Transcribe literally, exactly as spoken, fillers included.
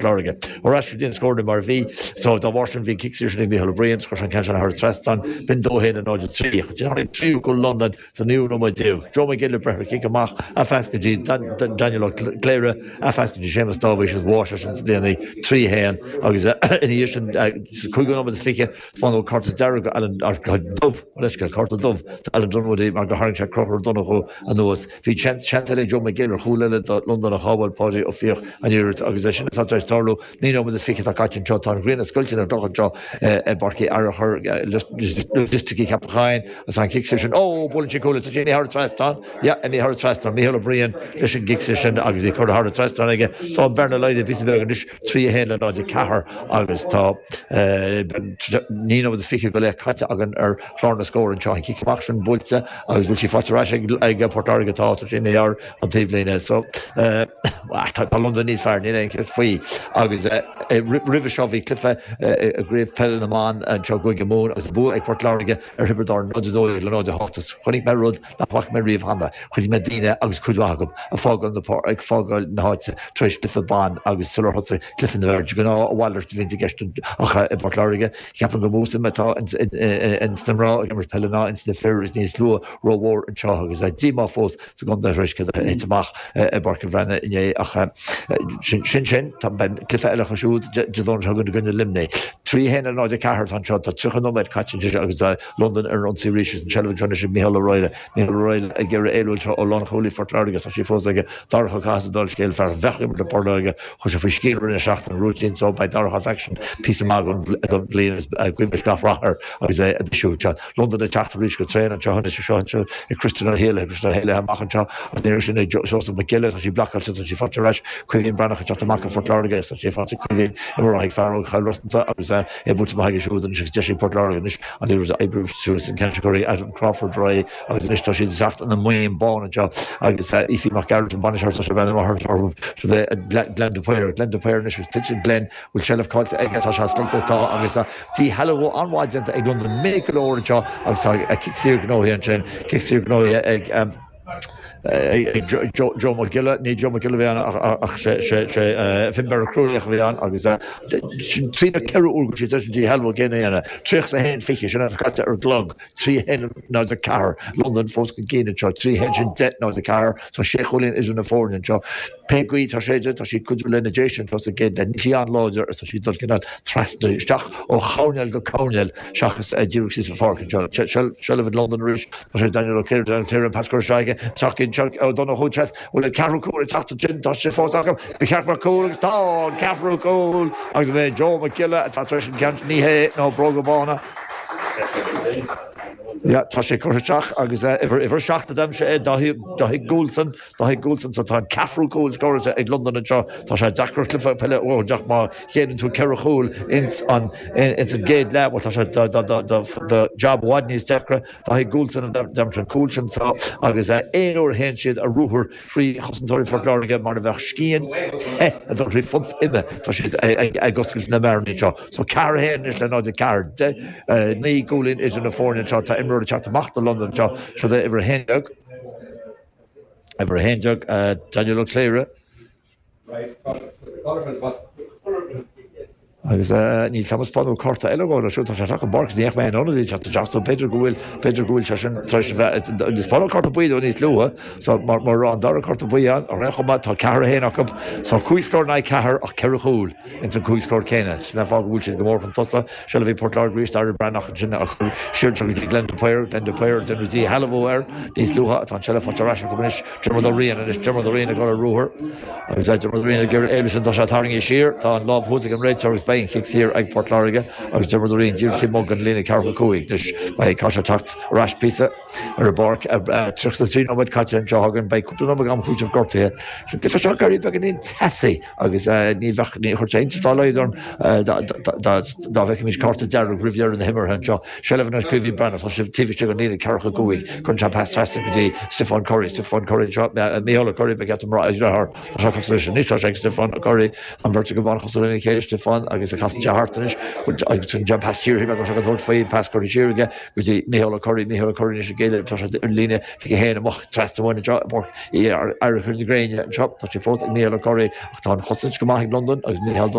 Láirge. Ar ais go dtí an scór mar bhí so dá bharr sin bhí cic saor sin ag Mícheál Ó Briain chuir an ceann sin thar an trasnán b'in dó haon a náid a trí. Tháinig tríú cúl Londain sa naoú nóiméad déag. Joe Mac Giolla breith ar chic amach a phas go dtí Daniel Ó Cléire a phas go dtí Séamus Dáibhís agus bháis sin sa líne trí haon agus ina dhiaidh sin cúig nóiméad is fiche fán cárta dearg Alan dubh leis cárta dubh Alan Dunwoody mar go tharraing sé Conchúr Ó Donnchú anuas. Bhí seans eile Joe McGill ar chúl eile do Londain a shábháil Páidí Ó Fiaich an iarracht agus é sin atá tar éis tarlú naoi nóiméad is fiche atá caite anseo tá an ghrian ag scoilteadh na gcloch anseo i bPáirc Uí Fhearchair loisticí Ceapacháin agus an cic sin ó buaileann sé cúl tá sé thar an trasnán yeah imithe thar an trasnán Mícheál Ó Briain leis an gcic sin agus í curtha thar an trasnán aige so an bearna laghdaithe píosa beag anois trí a haon le náid a ceathair agus tá naoi nóiméad is fiche go leith caite againn ar chlár na scór anseo an cic amach sin buailte agus bhfuil sí faighte ar ais ag Port Láirge tá tá sin ar an taobhlíne so tá Londain níos fearr níl aon cheist faoi agus roimhe seo bhí cluiche i gcraobh peile na mban anseo i gCúige Mumhan agus bua ag Port Láirge ar Thiobraid Árann náid a dó le náid a hocht chonaic mé rud nach bhfaca mé riamh cheana chonaic mé daoine agus cuid mhaith acu ag fágáil na ag fágáil na háite tar éis cluiche ban agus sular thosaigh cluiche na bhfear de ghnáth a mhalairt a bhíonn i gceist ach i bPort Láirge ceapaim gur mó suim atá ins na mná ag imirt peile ná ins na fir is níos lú rómhór anseo agus díomá fós sa gcontae tar éis thit amach i bPáirc an Bhreathnaigh inné ach sin sin sin tá cluiche eile acu siúd Dé Domhnaigh seo chugainn i gcoinne Luimnigh. Trí haon le náid a ceathair tá anseo tá tríocha nóiméad caite anseo agus Londain ar an ionsaí arís an tseilbh anseo anois ag Mícheál Ó Raghallaigh. Mícheál Ó Raghallaigh ag iarraidh éalú anseo ó lánchúlaí Phort Láirge tá sí fós aige Darach Ó Cathasaigh dála an scéil fear a bheadh ag imirt le Port Láirge chuir sé faoi scian roimh na seachtain rúitín so beidh Darach as action píosa maith den bhliain agus guímis gach rath air agus é ag siúl anseo. Londain ag teacht arís go tréan anseo anois seo anseo ag Christian Ó hÉalaithe Christian Ó hÉalaithe amach anseo agus ní raibh sin ag Joseph Mac Giolla tá sí blocáilte tá sí faighte ar ais Caoimhín Breathnach ag teacht amach ó Phort Láirge tá sí faighte Caoimhín imeartha ag fear óg Chill Rosanta agus é buailte amach aige siúd anois agus deis ag Port Láirge anois an liathróid a oibriú suas an ceann seo curtha Adam Crawford ar aghaidh agus anois tá siad ag teacht ina mbuíon bán anseo agus Aoife Mac Gearailt an bainisteoir tá sé bhean amach orthu so Glenn de Paor Glenn de Paor anois agus tuillte Glenn bhfuil seilbh caillte aige tá sé slogtha tá agus díshealbhú an-mhaith déanta ag Londain minic go leor anseo agus tá cic saor gnóthaithe ansin cic saor gnóthaithe ag ag Joe Mac Giolla ní Joe Mac Giolla a bhí ann ach sé sé sé Finbarr Ó Cruadhlaoich a bhí ann agus sin trí nó ceithre uair go siad leis an díshealbhú céanna a dhéanamh. Tríocha a haon fiche sin atá caite ar an gclog trí haon náid a ceathair Londain fós chun cinn anseo trí haon sin deich náid a ceathair so sé chúilín idir na foirne anseo. Pé gaoth atá séidte tá siad cuidiú lena déis anseo sa gcéad leath níl sí an-láidir agus tá siad dul cineál trasna isteach ó choirnéal go coirnéal seachas díreach síos an pháirc anseo. Seilbh ag Londain arís tá sé Daniel Ó Cléire Daniel Cléire an pas curtha isteach aige teach anseo ó Donnchadh Treas bhfuil an ceathrú cúl ag teacht ansin tá sé fós acu ba cheart mar cúl agus tá an ceathrú cúl agus bhí Joe Mac Giolla atá tar éis an ceann ní hé ná bróga bána. Yeah, tá sé curtha isteach agus uimhir uimhir seacht a d'aimsigh é Dáithí Dáithí Goulson Dáithí Goulson so tá an ceathrú cúl scóráilte ag Londain anseo tá sé deacair cluiche peile ó deach má chéileann tú ceithre chúl ins an ins an gcéad leath well tá sé do do do do do job i bhfad níos deacra Dáithí Goulson a d'aimsigh an cúl sin so agus aon uair a théann siad ar ruathar faoi chosantóirí Phort Láirge mar a bheadh scian the ag dul thrí phunt ime tá siad ag oscailt na mbearnaí anseo so ceathair a haon anois le náid a ceathair deich naoi gcúilín idir na foirne anseo tá imreoir ag teacht amach do Londain anseo seo é uimhir a haon déag uimhir a haon déag Daniel Ó Cléire agus níl Thomas Bánú cárta eile dhó siúd tá sé ag an bpáirc ní mé in ionad teacht isteach so b'fhéidir go bhfuil b'fhéidir go bhfuil sé sin tar éis a bheith níos bánú cárta buí dó níos luaithe so mar mar an dara cárta buí ann ar aon chuma tá ceathair a haon acu so cúig scór in aghaidh ceathair ach ceithre chúl ins an cúig scór céanna sin an fáth go bhfuil siad go mór chun tosaigh seilbh ag Port Láirge arís Daire Breathnach ansin a chur siar go dtí Glenn de Paor Glenn de Paor déanamh díshealbhú air níos luaithe atá an tseilbh faighte ar ais acu anois Diarmuid Ó Riain anois Diarmuid Ó Riain ag dul ar ruathar agus Diarmuid Ó Riain ag iarraidh éalú sin tá sé tarraingthe siar tá an lámh thuas ag an réiteoir agus beidh an chic saor ag Port Láirge agus Diarmuid Ó Riain díreach taobh amuigh den líne ceathracha cúig anois beidh caithfidh sé teacht ar ais píosa ar an bpáirc tríocha a trí nóiméad caite anseo againn beidh cúpla nóiméad am cúitimh gortaithe sa gcluiche seo ag éirí beagáinín teasaí agus ní bheadh ní chuirfeadh sé iontas dá laghad orm dá bhfeicfimis cárta dearg roimh dheireadh na himeartha anseo. Seilbh anois Caoimhín Breathnach tá sé taobh istigh den líne ceathracha cúig cuireann sé pas trasna go dtí Stiofán Curry Stiofán Curry anseo Mícheál Ó Curry ba cheart dom a rá tá sé cosúil leis anois tá sé ag Stiofán Ó Curry an bheirt go an-chosúil lena chéile Stiofán agus agus a casann sé thart anois agus an jump pass siar agus agus tabhairt faoi pas curtha siar aige go dtí Micheál Ó Curraoin Micheál Ó Curraoin anois ag éileamh tá sé ar líne fiche haon amach trasna amháin anseo i bPáirc éiric na Gréine anseo tá sé fós ag Micheál Ó Curraoin ach tá an chosaint go maith ag Londain agus Micheál